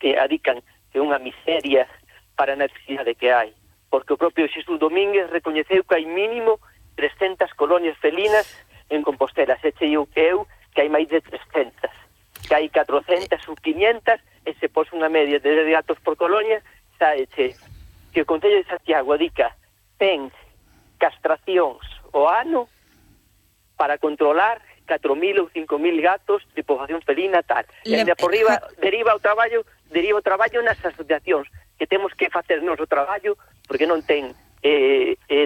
que adican que unha miseria para a necesidade que hai, porque o propio Xesús Domínguez recoñeceu que hai mínimo 300 colonias felinas en Compostela, se cheiu que hai máis de 300, que hai 400 ou 500, e se pos unha media de gatos por colonia, saeche que o Concello de Santiago adica 100 castracións o ano para controlar 4.000 ou 5.000 gatos de poboación felina tal. E ainda por riba deriva o traballo nas asociacións, que temos que facernos o traballo porque non ten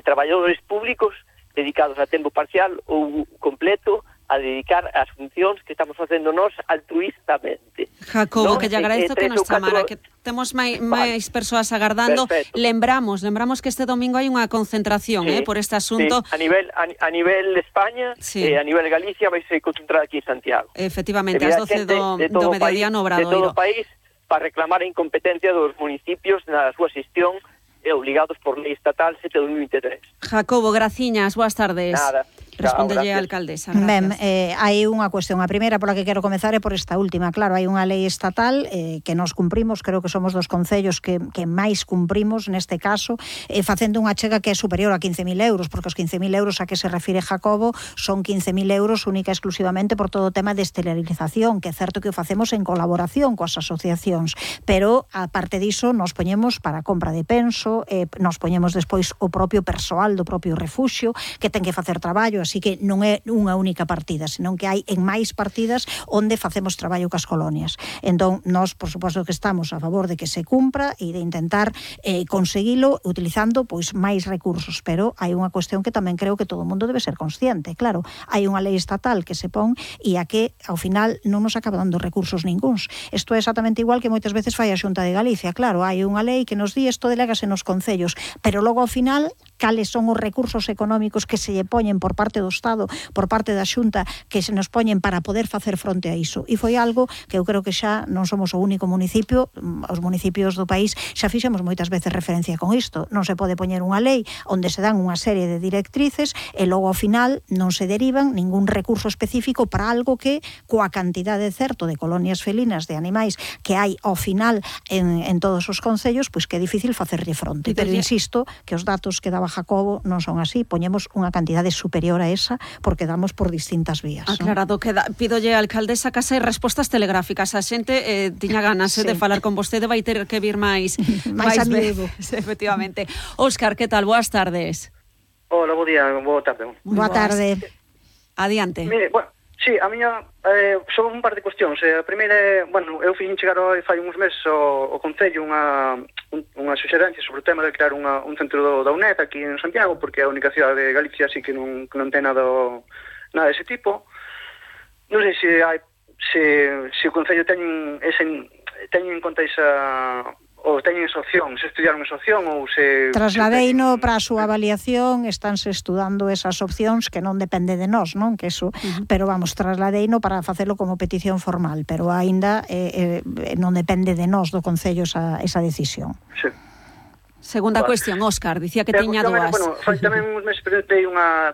traballadores públicos dedicados a tempo parcial ou completo a dedicar as funcións que estamos facendo nós altruistamente. Jacobo, que lle agradezo que nos chamara, que temos máis persoas agardando. Perfecto. Lembramos que este domingo hai unha concentración por este asunto. Sí. A nivel España e a nivel Galicia vai ser concentrada aquí en Santiago. Efectivamente, ás 12 do mediodía no Obradoiro. De todo o país, para reclamar a incompetencia dos municipios na súa xestión obligados por lei estatal 7/2023. Jacobo, graciñas, boas tardes. Nada. Respondelle a alcaldesa. Ben, hai unha cuestión. A primeira pola que quero comezar é por esta última. Claro, hai unha lei estatal que nos cumprimos, creo que somos dos concellos que máis cumprimos neste caso, facendo unha chega que é superior a 15.000 euros, porque os 15.000 euros a que se refire Jacobo son 15.000 euros única e exclusivamente por todo o tema de esterilización, que é certo que o facemos en colaboración coas asociacións, pero aparte diso nos poñemos para a compra de penso, nos poñemos despois o propio persoal do propio refuxio que ten que facer traballo, así que non é unha única partida, senón que hai en máis partidas onde facemos traballo cas colonias. Entón, nós, por suposto que estamos a favor de que se cumpra e de intentar conseguilo utilizando pois máis recursos, pero hai unha cuestión que tamén creo que todo o mundo debe ser consciente. Claro, hai unha lei estatal que se pon e a que, ao final, non nos acaba dando recursos ningúns. Isto é exactamente igual que moitas veces fai a Xunta de Galicia. Claro, hai unha lei que nos di isto delégase nos concellos, pero logo ao final, cales son os recursos económicos que se lle poñen por parte do Estado, por parte da Xunta, que se nos poñen para poder facer fronte a iso. E foi algo que eu creo que xa non somos o único municipio, os municipios do país xa fixemos moitas veces referencia con isto. Non se pode poñer unha lei onde se dan unha serie de directrices e logo ao final non se derivan ningún recurso específico para algo que, coa cantidade certo de colonias felinas de animais que hai ao final en todos os concellos, pois que é difícil facerlle fronte. Pero insisto que os datos que daba Jacobo non son así, poñemos unha cantidade superior a esa porque damos por distintas vías. Aclarado, pídolle a alcaldesa case respostas telegráficas. A xente tiña ganas de falar con vostede, vai ter que vir máis amigo. Efectivamente. Óscar, que tal? Boas tardes. Hola, bo día, boa tarde. Boa tarde. Adiante. Mire, bueno, sí, a miña son un par de cuestións. A primeira é, bueno, eu fixen chegar fai uns meses ao Concello unha suxerencia sobre o tema de crear un centro da UNED aquí en Santiago, porque é a única cidade de Galicia así que non ten nada dese tipo. Non sei se o Concello ten en conta esa, ou teñen esa opción, se estudiaron esa opción ou se... Trasladeino para a súa avaliación, estánse estudando esas opcións que non depende de nós, non? Que eso, pero vamos, trasladeino para facelo como petición formal, pero aínda non depende de nós do Concello esa decisión. Sí. Segunda cuestión, Óscar, dicía que tiña dúas. Bueno, tamén uns meses presentei unha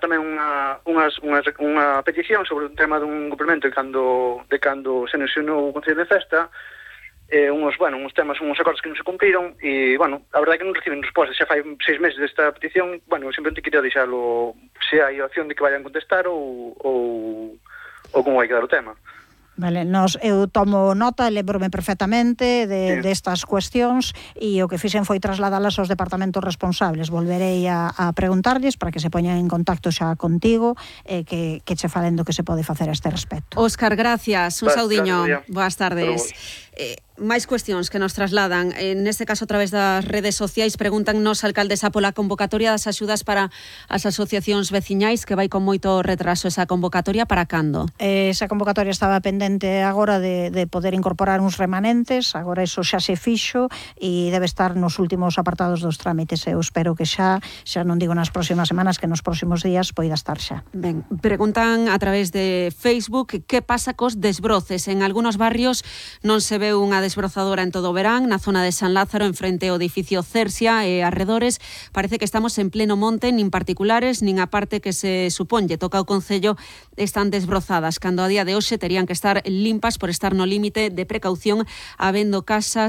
petición sobre o tema dun complemento de cando se anunciou o Concello de Festa, uns temas, uns acordos que non se cumpriron e, bueno, a verdade é que non reciben resposta. Xa fai 6 meses desta petición, bueno, simplemente quería deixalo se hai opción de que vayan contestar ou como vai quedar o tema. Vale, eu tomo nota e lembro-me perfectamente destas cuestións e o que fixen foi trasladalas aos departamentos responsables. Volverei a preguntarlles para que se poñan en contacto xa contigo e que che falen do que se pode facer a este respecto. Óscar, gracias. Un saudiño. Boas tardes. Máis cuestións que nos trasladan, neste caso a través das redes sociais, preguntannos alcaldesa pola convocatoria das axudas para as asociacións veciñais, que vai con moito retraso esa convocatoria, para cando? Esa convocatoria estaba pendente agora de poder incorporar uns remanentes, agora iso xa se fixo e debe estar nos últimos apartados dos trámites. Eu espero que xa non digo nas próximas semanas, que nos próximos días poida estar xa. Ben, preguntan a través de Facebook que pasa cos desbroces. En algúns barrios non se ve unha desbrozadora en todo o verán, na zona de San Lázaro, en frente ao edificio Cersia e arredores. Parece que estamos en pleno monte, nin particulares, nin a parte que se suponlle toca o Concello están desbrozadas, cando a día de hoxe terían que estar limpas por estar no límite de precaución, habendo casas